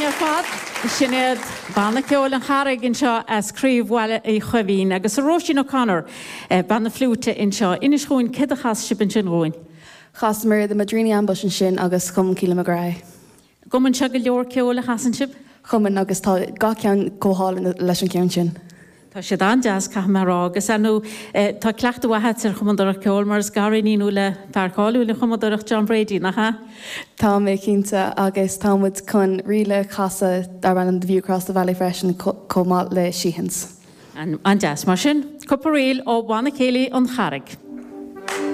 ar fad. Sin iad Banna Ceoil An Charraig anseo as Craobh Bhaile Uí Choimín agus a Róisín O'Connor, bean na fliúite anseo. Inis dhúinn céard a chas sibh ansin dhúinn? Chasamar The Madrini Ambush ansin agus chum Keelan McGrath é. Cumann sibh go leor ceoil a chasann sibh? Cumann agus tá gach ceann chomh hálainn leis an cheann sin. Tá siad an-deas, caithfidh mé a rá, agus ar ndóigh tá cleachtadh mhaith agat ar chumadóireacht ceoil mar is gariníon thú le fear cáiliúil an chumadóireacht John Brady, nach ea? Tá mé cinnte, agus tá muid chun ríl a chasadh darb ainm The View Across the Valley freisin chomh maith le Sheehan's. An-deas. Mar sin, cúpla ríl ó Bhanna Céilí An Charraig.